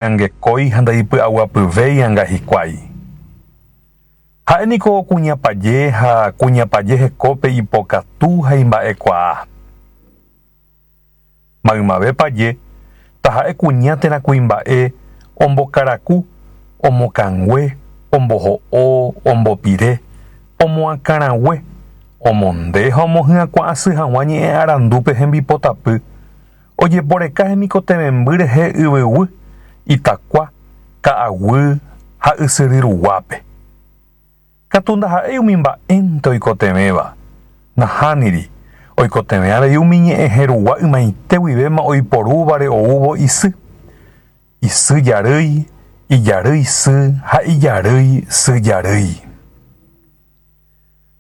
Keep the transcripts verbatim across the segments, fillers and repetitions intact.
Angekói ha ndaipy'aguapyvéianga hikuái. Ha'éniko kuña paje ha kuña paje hekópe ipokatu ha imba'ekuaa. Maymave paje, taha'e kuña térã kuimba'e, ombokaraku, omokangue, omboho'o, ombopire, omoakãrague, omonde ha omohyakuã asy hag̃ua ñe'ẽ arandúpe hembipotapy, ojeporeka hemikotevẽmby rehe yvyguy, itakua, ka'aguy ha ysyry ruguápe. Katu ndaha'éi umi mba'énte oikotevẽva. Nahániri, oikotevẽ avei umi ñe'ẽ herugua ymaite guivéma oiporúvare oúvo isy, isy jarýi, ijarýi sy ha ijarýi sy jarýi.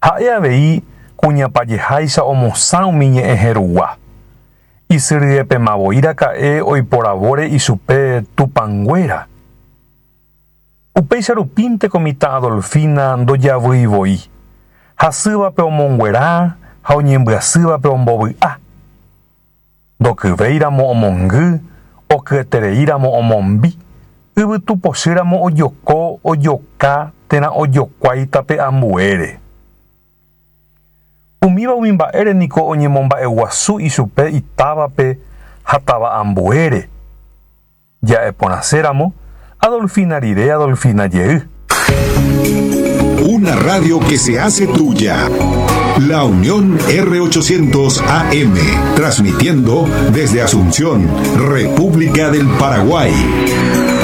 Ha'e avei kuña pajeháicha omosã umi ñe'ẽ herugua. Isy ryepemavoiraka'e oiporavóre ichupe tupãnguéra. Upéicha rupínteko mitã Adolfina ndojavyivoi. Hasývape omonguera ha oñembyasývape ombovy'a. Ndokyvéiramo omongy, okyetereíramo omombi, yvytupochýramo ojoko, ojoka térã ojokuái tape ambuére. Umíva umi mba'ére niko oñemomba'eguasu ichupe itávape ha táva ambuére. Ja'eporãséramo, Adolfina rire Adolfina jey. Una radio que se hace tuya. La Unión R ochocientos A M, transmitiendo desde Asunción, República del Paraguay.